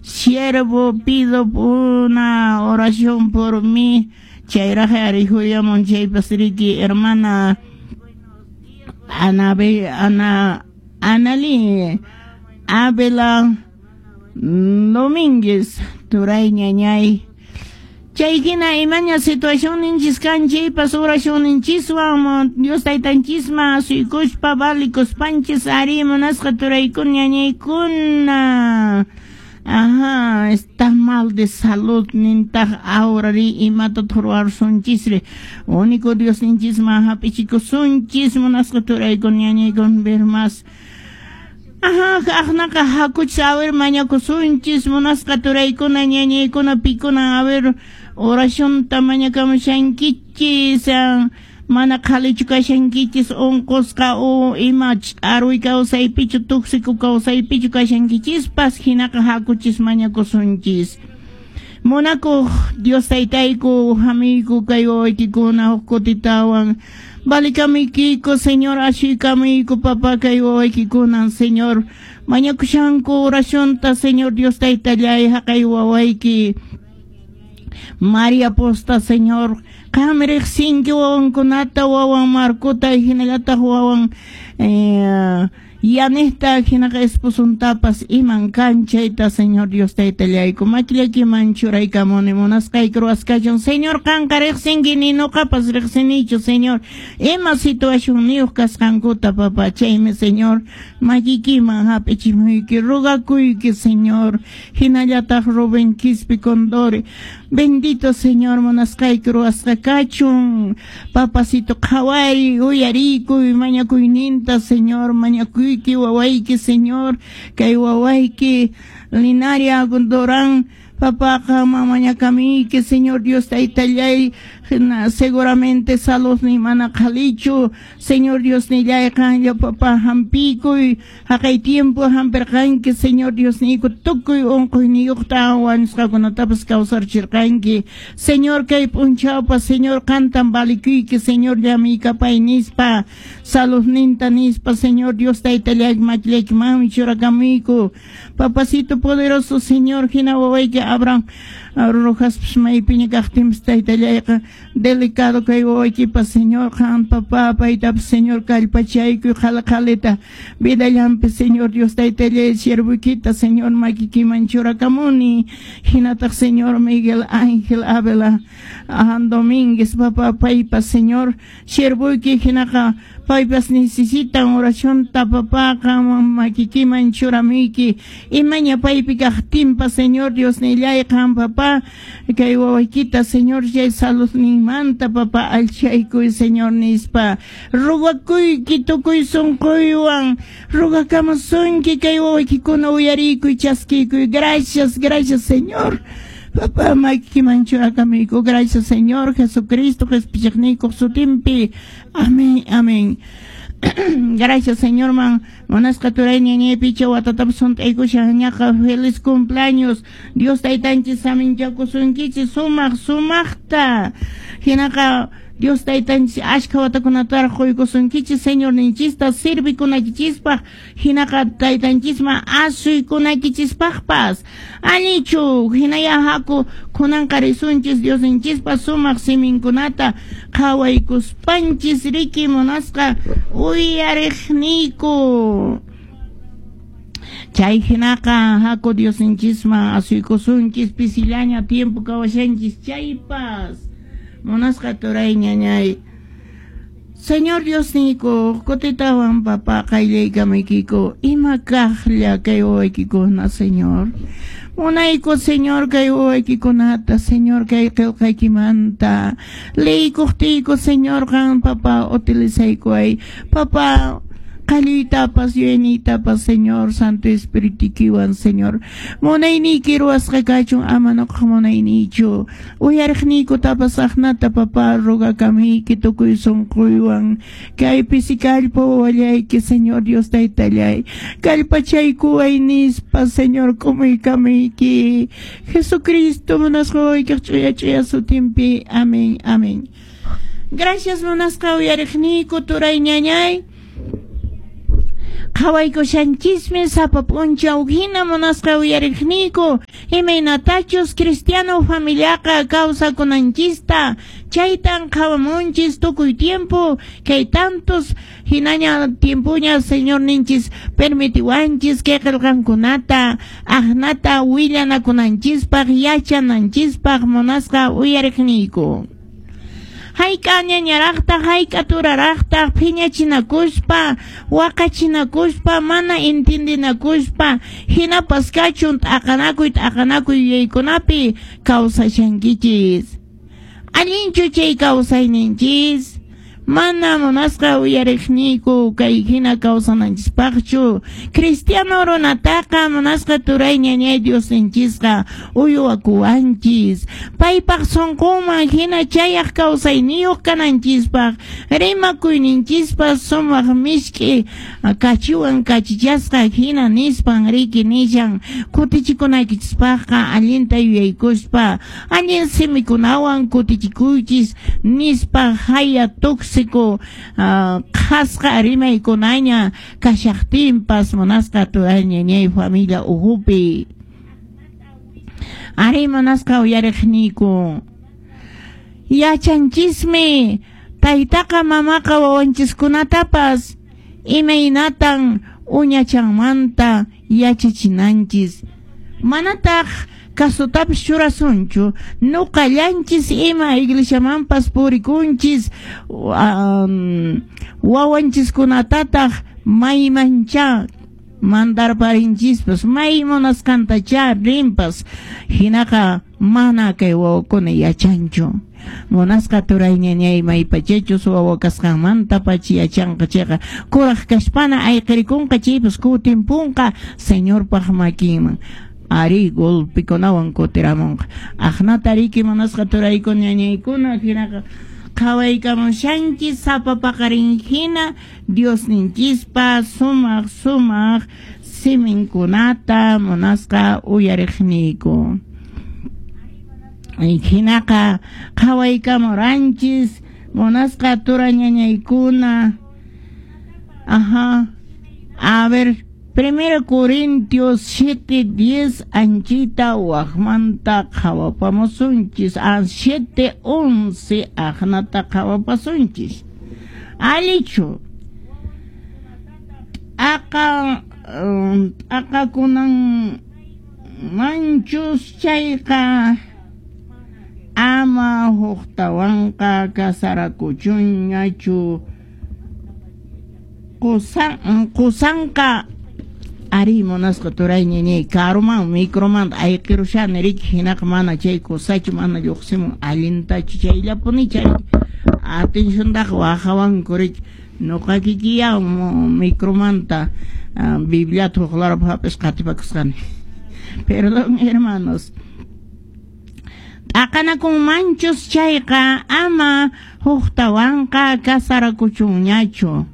Siervo, pido una oración por mí. Chayraq ari huyamun chaypas riki hermana Ana Ana Anali Abela Domínguez turay ñañay. Chay hina imaña situación ninchis kan chaypas oración ninchiswan Dios taytanchisman asuykuspa valikuspanchis ari munasqa turaykuna ñañaykuna. Ajá, está mal de salud nintaq ahora ri imata ruwarsunchisri. Único Dios ninchisman hap'ichikusunchis munasqa turaykuna ñañaykuna ver más. Ajá, aqnaqa hakuchis a ver mañakusunchis munasqa turaykuna ñañaykuna pikuna a ver oracionta mañakamushankichis mana qhalichu kashankichis unqusqa o ima ch'arwi kawsaypichu tuksiku kawsaypichu kashankichispas hinaqa hakuchis mañakusunchis. Munakuq Dios taytayku hamiyku kay wawaykikuna huk kutitawan valikamuykiku Señor ashuykamuyku papá kay wawaykikunan Señor mañakushanku oracionta Señor Dios taytallay haqay wawayki María Posta Señor qam riqsinki wawankunata wawan Marcota hinallataq wawan Yanista hinaqa esposuntapas iman kan chayta Señor Dios taytallayku makillaykiman churaykamuni munasqayki ruwasqachun Señor qanqa riqsinki ni nuqapas riqsinichu Señor ima situacionniyuq kasqankuta papá chaymi Señor makikiman hap'ichimuyki rogakuyki Señor hinallataq Rubén Quispe Condori bendito Señor munasqayki ruwasqa kachun papacito qhawari uyarikuy mañakuyninta Señor mañakuyki wawayki Señor kay wawayki Linaria Durán papá qanman mañakamuyki Señor Dios taytallay seguramente salud ni mana qhalichu Señor Dios nillay qanlla papá hampikuy haqay tiempo hampirqanki Señor Dios niyku tukuy unquyniyuqta wañusqakunatapas kawsarchirqanki Señor kay p'unchawpas Señor qantan valikuyki Señor llamiykapay nispa saludninta nispa Señor Dios taytallay makillaykimanmi churakamuyku papacito poderoso Señor hina wawayki Abraham Rojaspas maypiña kaqtinpas taytallayqa delicado kay wawaykipas Señor qan papá paytapas Señor kallpachaykuy qhala qhalita vidallanpi Señor Dios taytallay siervoykita Señor makikiman churakamuni hinataq Señor Miguel Ángel Ávila Domínguez papá paypas Señor siervoyki hinaqa paypas necesitan oracionta papá qanman makikiman churamuyki imaña paypi kaqtinpas Señor Dios nillay qan papá kay wawaykita Señor chay saludninmanta papá allchaykuy Señor nispa rogakuyki tukuy sunquywan rogakamusunki kay wawaykikuna uyariykuy chaskiykuy gracias gracias Señor papá makikiman churakamuyku gracias Señor Jesucristo qhispichiqniykuq sutinpi amén amén. Gracias Señor man munasqa turay ñañaypicha watatapas hunt'aykushan ñaqa feliz cumpleaños Dios taytanchis saminchakusunkichis sumaq sumaqta hinaqa Dios taytanchis ashka watakunataraq quykusunkichis Señor ninchista sirvikunakichispaq hinaqa taytanchisman asuykunakichispaqpas allichu hinaya haku kunanqa risunchis Dios ninchispa sumaq siminkunata qhawaykuspanchis riki munasqa uyariqniyku chay hinaqa haku Dios ninchisman asuykusunchis pisillaña tiempo kawashanchis chaypas munasqa turay ñañay Señor Dios niyku kutitawan papá qayllaykamaykiku ima kaqlla kay wawaykikuna Señor munayku Señor kay wawaykikunata Señor kay qillqaykimanta liykuqtiyku Señor qan papá utilizaykuway papá qalluytapas yuyayniytapas Señor Santo Espiritukiwan Señor munayniyki ruwasqa kachun ama nuqaq munayniychu uyariqniykutapas aqnata papá rogakamuyki tukuy sunquywan kay pisi kallpa wawallayki Señor Dios taytallay kallpachaykuway nispa Señor k'umuykamuyki Jesucristo munasqa wawaykiq ch'uya ch'uya sutinpi amén amén. Gracias munasqa uyariqniyku turay ñañay qhawaykushanchismi sapa p'unchaw hina munasqa uyariqniyku Imaynatachus cristiano familiaqa kawsakunanchista chaytan qhawamunchis tukuy tiempo kay tantos hinaña tiempoña Señorninchis permitiwanchis kay qillqankunata aqnata willanakunanchispaq yachananchispaq munasqa uyariqniyku. Hayk'a ñañaraqtaq hayk'a turaraqtaq phiñachinakuspa waqachinakuspa mana intindinakuspa hinapas kachun t'aqanakuy t'aqanakuy yuyaykunapi kawsashankichis. Allinchu chay kawsayninchis? Mana munasqa uyariqniyku kay hina kawsananchispaqchu. Cristiano runataqa munasqa turay ñañay Diosninchisqa uywakuwanchis. Paypaq sunqunman hina chayaq kawsayniyuq kananchispaq rimakuyninchispas sumaq misk'i kachiwan kachichasqa hina nispan riki nishan kutichikunaykichispaqqa allinta yuyaykuspa allin simikunawan kutichikuychis nispa haya tóxico qhasqa rimaykunaña kashaqtinpas munasqa turay ñañay familia uhupi. Ari munasqa uyariqniyku. Yachanchismi taytaqa mamaqa wawanchiskunatapas imaynatan uñachanmanta yachachinanchis. Manataq kasutapis churasunchu nuqallanchis ima iglesiamanpas purikunchis wawanchiskunatataq maymancha mandarparinchispas may munasqantacha rinpas hinaqa mana kay wawakuna yachanchu. Munasqa turay ñañay maypachachus wawa kasqanmanta pacha yachanqa chayqa kuraq kashpana ayqirikunqa chaypas kutinpunqa Señorpaq makinman. Ari golpikunawan kutiramunqa. Aqnata riki munasqa turaykuna ñañaykuna hinaqa qhawaykamushanchis sapa paqarin hina Diosninchispa sumaq sumaq siminkunata munasqa uyariqniyku. Hinaqa qhawaykamuranchis munasqa tura ñañaykuna. Ajá. A ver, 1 Corintios 7:10 anchita waqmanta qhawapamusunchis. 7:11 aqnata qhawapasunchis. Alichu. Aqa aqakunan manchus chayqa ama huqtawanqa kasarakuchunñachu qusanqa ari munasqa turay ñañay karuman microman ayqirushani riki hinaqa mana chay kusachu mana lluqsimun allintachu chayllapuni chay atenciontaqa waqawanku riki nuqa kikiya micromanta Bibliata huqlarapaq hap'isqa qatipakusqani. Perdón hermanos. T'aqanakunmanchus chayqa ama huqtawanqa kasarakuchunñachu.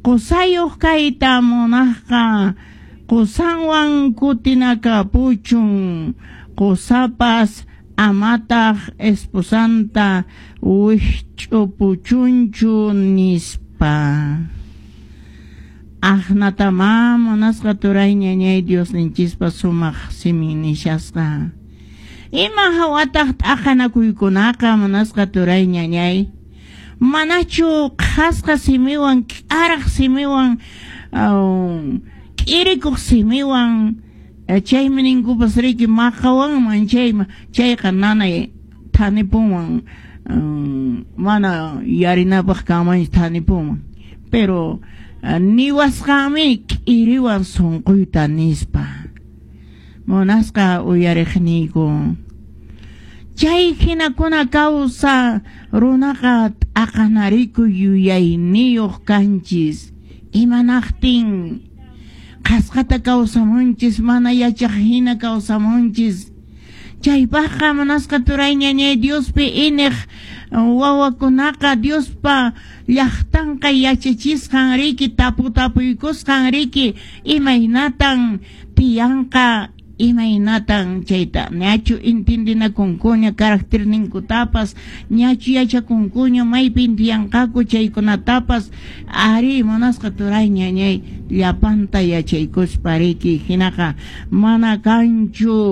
Qusayuq kayta munaqqa qusanwan kutinakapuchun. Qusapas amataq esposanta wikch'upuchunchu nispa. Aqnatama munasqa turay ñañay Diosninchispa sumaq simin nishasqa. Ima hawataq t'aqanakuykunaqa munasqa turay ñañay. Manachu qhasqa simiwan k'araq simiwan k'irikuq simiwan chaymi ninkupas riki maqawanman chayqa nanay thanipunman mana yarinapaq kanmanchu thanipunman. Pero niwasqanmi k'iriwan sunquyta nispa. Munasqa uyariqniyku. Chay hinakuna kawsa runaqa t'aqanariku yuyayniyuq kanchis. Imanaqtin qhasqata kawsamunchis mana yachaq hina kawsamunchis. Chaypaqqa munasqa turay ñañay Diospi iniq wawakunaqa Diospa llaqtanqa yachachisqan riki taputapuykusqan riki imaynatan tiyanqa imaynatan chayta ñachu intindinakunkuña caracterninkutapas ñachu yachakunkuña maypin tiyanqaku chaykunatapas ari munasqa turay ñañay llapanta yachaykuspa riki hinaqa mana kanchu.